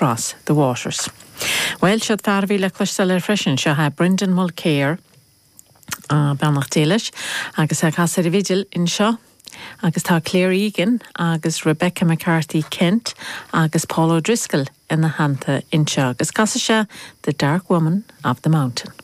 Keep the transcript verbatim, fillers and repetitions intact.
Across the Waters. Well seo fear a bhí le cloisteáil air freisin seo é Brendan Mulkere uh, beannacht Dé leis agus ag casadh ar an bhfidil anseo. Agus tá Claire Egan agus Rebecca McCarthy Kent agus Paul O'Driscoll ina theannta anseo agus casfaidh sé The Dark Woman of the Mountain.